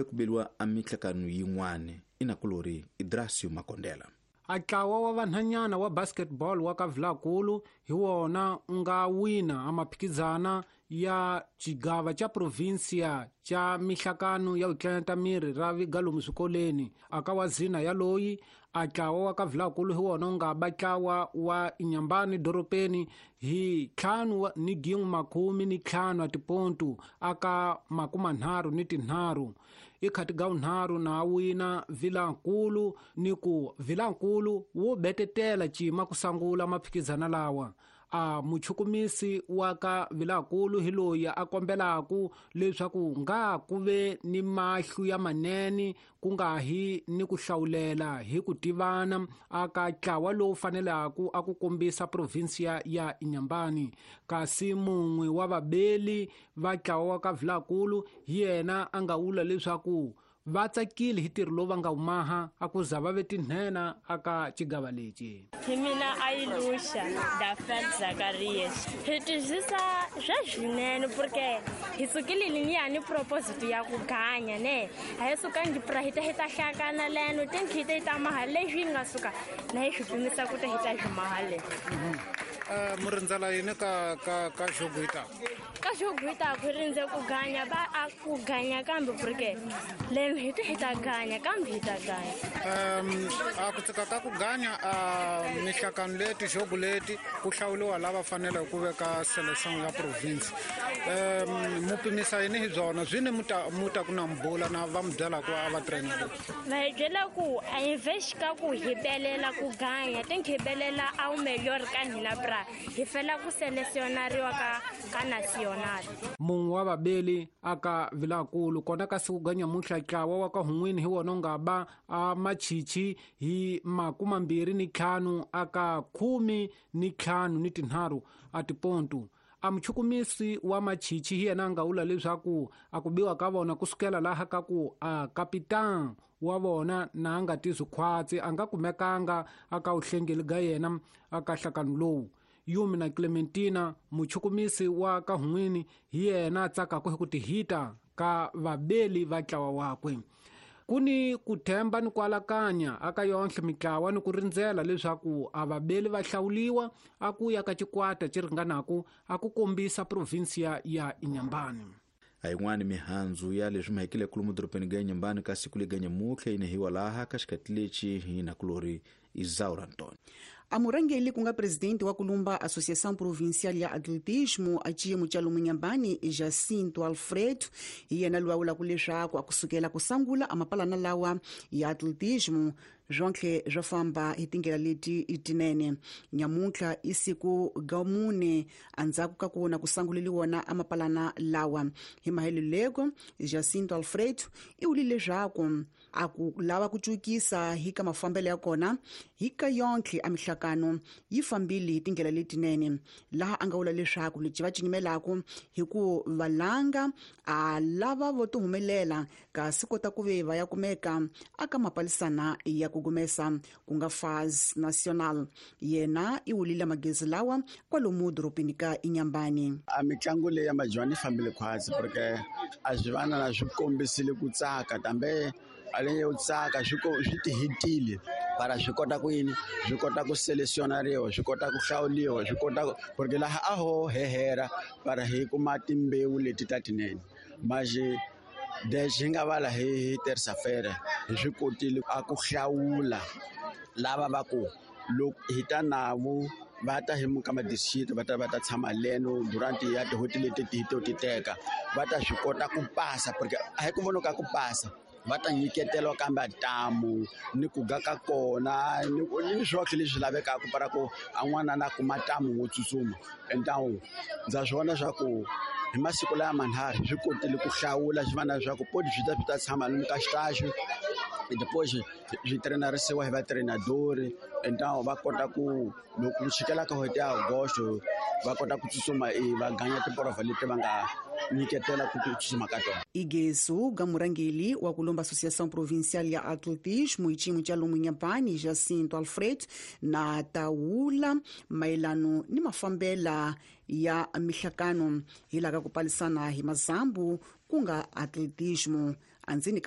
Ku beliwa a mihlakano yin'wana i nakulori Idrasio Makondela. A ntlawa wa vanhanyana wa basketball wa ka Vilakulu hi wona u nga wina a maphikizana ya xigava xa provinsia xa mihlakano ya vutlanyata miri ra vigalomu swikoleni aka wa zina ya loyi a ntlawa wa ka Vilakulu hi wona u nga ba ntlawa wa Inyambani doropeni hi 5.15 a tipontu aka 33 i khati ga unharhu na wina Vilankulu ni ku Vilankulu wo betetela cima ku sangula maphikizana lawa. A muchukumisi wa ka Vilakulu hi loyi a kombelaku leswaku nga ku ve ni mahlu ya manene ku nga hi ni ku hlawulela hi ku tivana aka ntlawa lowu fanelaku a ku kombisa provinsia ya Inyambani. Kasi mun'we wa vabeli va ntlawa wa ka Vilakulu hi yena a nga vula leswaku va tsakile hi ntirho lowu va nga wu maha a ku za va ve tinhena aka xigava lexi. Hi mina Ayilusha Dafel Zakarias. Hi twisisa swa swinene porque hi sukile liniya ni proposito ya ku ganya ne a hi sukangi pra hi ta hi ta hlakana leno tinkhi hi ta hi ta maha leswi hi nga suka na hi swi pimisa ku ta hi ta swi maha le. Mu rindzela yini ka ka ka jogo yi taka? Ka jogo yi taka hi rindze ku ganya va a ku ganya kambe porque leno hi ta hi ta ganya kambe hi ta ganya. A ku tsika ka ku ganya a mihlakano leti jogo leti ku hlawuliwa lava faneleke ku veka selection ya province. Mu pimisa yini hi byona byi ni mu ta ku na mubula na va mu byela ku a va trainer? Va hi byela ku a hi vhexi ka ku hi belela ku ganya tinki hi belela a wu melhor ka hina bra hi fela ku selesionariwa ka ka national. Mun'we wa vabeli aka Vilakulu kona ka siku ga nyamuntlha ntlawa wa ka Hun'wini hi wona u nga ba a machichi hi 25 aka 15 ni a tipontu. A muchukumisi wa machichi hi yena a nga vula leswaku a ku biwa ka vona kusukela laha ka ku a kapitan wa vona na a nga tizwi khwatsi a nga kumekanga aka wuhlengeli ga yena aka nhlakano lowu. Yumi na Clementina muchukumisi wa ka Hun'wini hi yena a tsakaka hi ku tihita ka vabeli va ntlawa wakwe. Ku ni ku themba ni ku alakanya aka yonhle mitlawa ni ku rindzela leswaku a vabeli va hlawuliwa a ku ya ka xikwata xi ringanaku a ku kombisa provinsia ya Inyambani. A yin'wani mihandzu ya leswi mahekile kulumu doropeni ga Inyambani ka siku lega nyamutlha yi nehiwa laha ka xikati lexi hi nakulori Isaura Antoni. A murhangeli ku nga presidente wa kulumba Associação Provincial ya Atletismo a xiyimo xa lomu Nyambani Jacinto Alfredo hi yena loyi a vulaka leswaku a kusukela ku sangula a mapalana lawa ya atletismo swontlhe swo famba hi tindlela leti tinene. Nyamuntlha i siku ga mune endzhaku ka ku vona ku sanguleliwa a mapalana lawa. Hi maheleleko Jacinto Alfredo i vulile leswaku a ku lava ku cukisa hi ka mafambelo ya kona hi ka yontlhe a mihlakano yi fambile hi tindlela letinene, laha a nga vula leswaku lexi va cinyimelaka hi ku valanga a lava vo ti humelela kasi kota ku ve va ya kumeka aka mapalisana ya ku gumesa ku nga phase national. Yena i wulile magezi lawa kwalomu doropeni ka Inyambani. A mitlangu leyi ya majuwani yi fambile khwatsi porque a swi vana na swi kombisile ku tsaka kambe a le yo tsaka swi swi tihitile para swi kota ku yini swi kota ku selesionariwa swi kota ku hlawuliwa swi kota porque laha a ho hehera para hi kuma timbewu leti ta tinene maje desde hi nga vala hi terça-feira hi swi kotile a ku hlawula lava va ku loko hi ta navo va ta hi muka ma-district va ta va ta tshama leno durante ya tin'hweti leti hi to ti teka va ta swi kota ku pasa porque a hi ku vona ka ku pasa va ta nyiketelwa kambe ntamu ni ku ga ka kona ni ni swoxe leswi lavekaka para ku a n'wana na kuma ntamu wo tsutsuma entawu ndza swi vona swa ku hi masiku laya manharhu swi kotile ku hlawula swi vana leswaku poti swi ta swi ta tshama lomu ka xitaxi depois swi trenarisiwa hi vatrenadori entawu va kota ku loko ku chikela ka n'hweti ya agosto va kota ku tsutsuma va ganya tiporovha leti va nga nyiketela ku tsutsuma ka tona. Igezu ga murangeli wa kulumba Associação Provincial ya Atletismo hi xiyimo xa lomu Nyambani Jacinto Alfredo na tawula mayelano ni mafambela ya mihlakano hi laka ku palisana hi mazambu ku nga atletismo. Andzeni ka